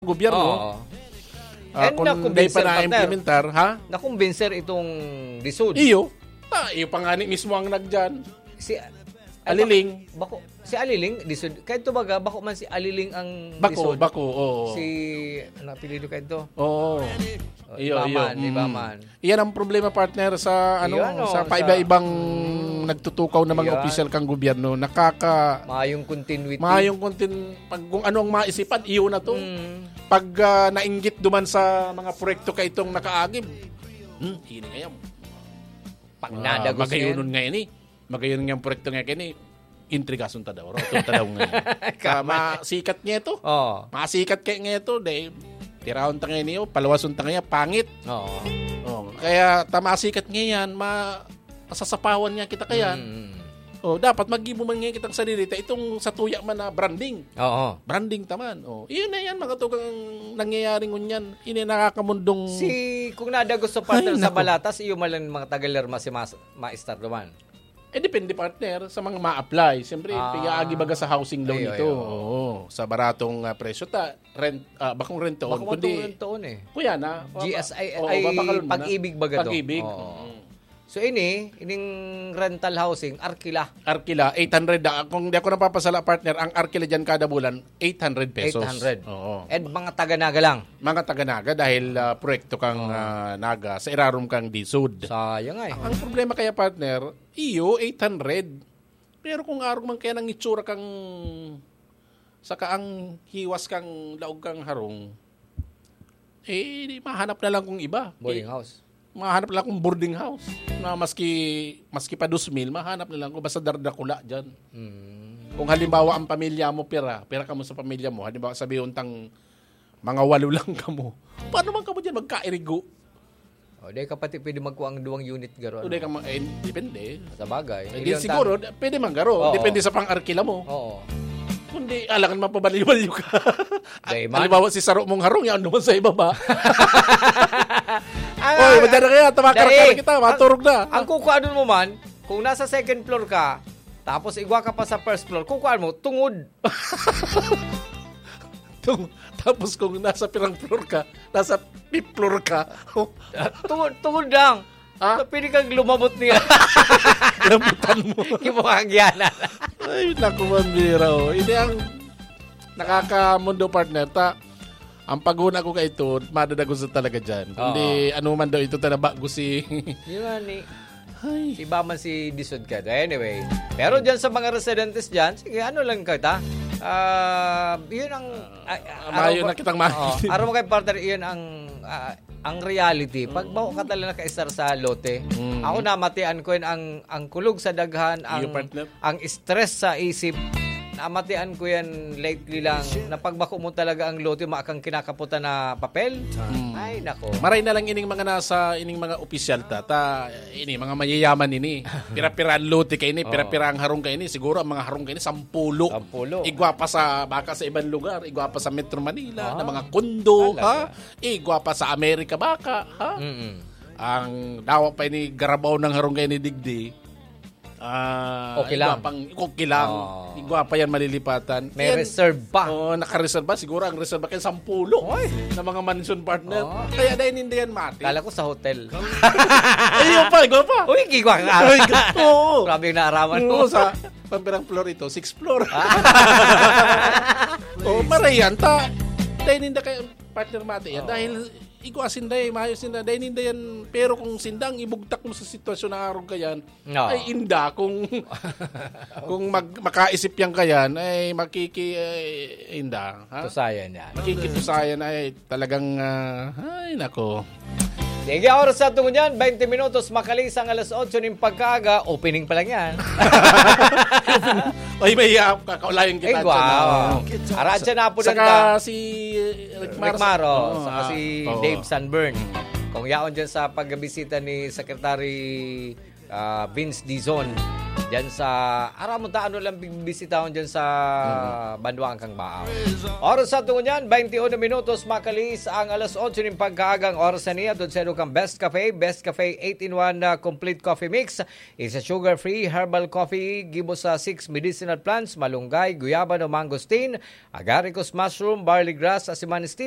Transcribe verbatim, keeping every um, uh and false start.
gobyerno. Oo. Ah, And kung nakumbinser, di pa partner. Na-implementar, ha? Nakumbinser itong DISUD. Iyo. Ta, iyo pa nga ni mismo ang nagdiyan. Si Aliling. Bako, si Aliling, DISUD. Kaya ito baga, bako man si Aliling ang Bako, DISUD. Bako, oo. Si, ano apelyido kaya ito? Oo. Oh, Iyo, Ibaman, iyo. Mm. Ibaman. Iyan ang problema, partner, sa, ano, Iyan, oh, sa sa paiba-ibang Mm. nagtutukaw na mga Iyan. opisyal kang gobyerno. Nakaka- Mayong continuity. Mayong contin-, pag kung ano ang maisipan, iyo na to. Mm. Pag, ah, nainggit duman sa mga proyekto ka itong nakaagib, hmm, hini ngayon. Pag Ah, nadagos magayon yan. Nga ini. Magayon nga ang proyekto nga kini, intrigason ta daw, roton ta daw nga. Ka- Tama, sikat nga ito. Oo. Masikat kaya nga ito, dahil tiraon ta nga niyo, paluwason ta nga, pangit. Oo. Oh, kaya tama sikat nga yan, ma-, masasapawan nga kita kayan. Mm. Oh, dapat maggibo man nga kitang sarili ta itong sa tuya man na branding. Oo. Branding taman. Oh, iyon na yan, mga tugang nangyayari ngunyan. Ini nakakamundong Si, kung nadagos sa partner Ay, sa naku. Balatas, iyo man lang mga tagalerma si Mas-, Maestar Duman. Eh, depende, partner, sa mga ma-apply. Siyempre, Ah. piyaagi baga sa housing loan Ay, ito. ay, oo. Oo, sa baratong, ah, presyo ta, rent, ah, bakong rent to own, Bakong kundi rent to own eh. Kuya na, G S I, oo, ay, babakal mo na. Pag-ibig baga to. Pag-ibig. Oo. Mm. So, ini, ining rental housing, arkila. Arkila, eight hundred. Ah, kung di ako napapasala, partner, ang arkila dyan kada bulan, eight hundred pesos. Eight hundred. Oo. And mga taga-Naga lang. Mga taga-Naga dahil, ah, proyekto kang, Oo. ah, Naga sa irarom kang DISUD. Sayang ay. Ang problema kaya, partner, iyo, eight hundred. Pero kung arog man kaya nang itsura kang, saka ang hiwas kang laog kang harong, eh, di mahanap na lang kung iba. Boarding Eh, house. mahanap na lang kung boarding house. Na maski, maski pa dos mil, mahanap na lang kung basta dardakula dyan. Mm. Kung halimbawa ang pamilya mo, pira, pira ka mo sa pamilya mo, halimbawa sabi untang mga walo lang kamo. Paano man kamo dyan magkairigo? O, di ka pati pwede magkuha ang duwang unit garo, O, di ano? ka ma-, eh, depende. Sa bagay. Eh, Ilang di siguro, tan- pwede man garo. Oo. Depende sa pang-arkila mo. Oo. Kundi, alangan mapabaliw-baliw ka. Di man. Halimbawa, si saro mong harong, yan naman sa ibaba. Ah, Oy, madara kaya, tamakar-kar Dai, kita, ang, maturog na. ang kukuhanon mo man, kung nasa second floor ka, tapos igwa ka pa sa first floor, kukuhaan mo, tungod. Tung-, tapos kung nasa pirang floor ka, nasa fifth floor ka. Tungod, tungod lang. Ha? So, pwede kang lumabot niya. Lambutan mo. Yung mga agyanan. Ay, naku, mambira, oh. Hindi ang nakakamundo, partner. Ta, ang paghuna ko kay ito, madadagos na talaga dyan. Kundi, Oo. ano man daw ito, tanabago si Yun nga ni, Ay. iba man si Disod ka. Anyway, pero dyan sa mga residentes dyan, sige, ano lang ka, ta? Ah, yun ang, ah, ah, Mayo araw na kitang Oo, makinig. araw mo kay partner, yun ang, ah, ang reality. Pag Mm. baho ka talaga nakaisar sa lote, Mm. ako namatian ko yun, ang, ang kulog sa daghan, Iyo, ang, partner. ang stress sa isip, namatian ko yan lately lang, na pagbako mo talaga ang lote, maakang kinakaputan na papel. Mm. Ay, nako. Maray na lang ining mga nasa, ining mga opisyal ta, ta, ini, mga mayayaman ini. Pira-pira ang lote kayo ini, Oo. pira-pira ang harong kayo ini. Siguro ang mga harong kayo ini, sampulo. Sampulo. Igwa pa sa, baka sa ibang lugar, igwa pa sa Metro Manila, Ah. na mga kondo, Talaga. ha? Igwa pa sa Amerika, baka, ha? Mm-mm. Ang dawa pa ini, garabaw ng harong kayo ni Digdi. Ah, Okay igwa lang. pang, okay lang. Oo. Igwa pa yan, malilipatan. May Yan, reserve pa. Oo, nakareserve pa. Siguro ang reserve pa kayo, sampulo Oy. na mga mansion partner. Oo. Kaya dahil hindi yan mati. Kala ko sa hotel. Ayun pa, igwa pa. Uy, igwa nga. Ay, oo. Grabe yung naaraman mo. Oo, sa pampirang floor ito, sixth floor. Ah. Oo, maray yan. Ta, dahil hindi kayo, partner mati yan. Oo. Dahil igwa sinda eh, mayo sinda. Dahil hindi yan, pero kung sinda ang ibugtak mo sa sitwasyon na arog ka yan, No. ay inda kung, kung mag, makaisip yan ka yan, ay makiki, ay, inda. Ha? Tusayan yan. Makikitusayan ay talagang, ah, ay nako. Sige, oras sa tungo niyan, twenty minutos, makalis ang alas otso ning pagkaaga, opening pa lang yan. Ay, may, ah, kakaulayan kita Ay, dyan, wow. ah. Aradya na po Saka dyan si Rick Rick Mars. Maro, Oo, saka ah, si oo. Dave Sunburn. Kung yaon dyan sa pagbisita ni Secretary, ah, Vince Dizon, dyan sa, aram mo ta, ano lang bisitahon dyan sa Mm. Banwaan kang Baaw. Oras sa tungo niyan, twenty-one minutos, makalis ang alas otso ning pagkaagang oras na niya. Doon sa kang Best Cafe, Best Cafe eight-in-one na complete coffee mix. Isa sugar-free herbal coffee, gibo sa six medicinal plants, malunggay, guyabano, mangosteen, agaricus mushroom, barley grass, asiman stevia,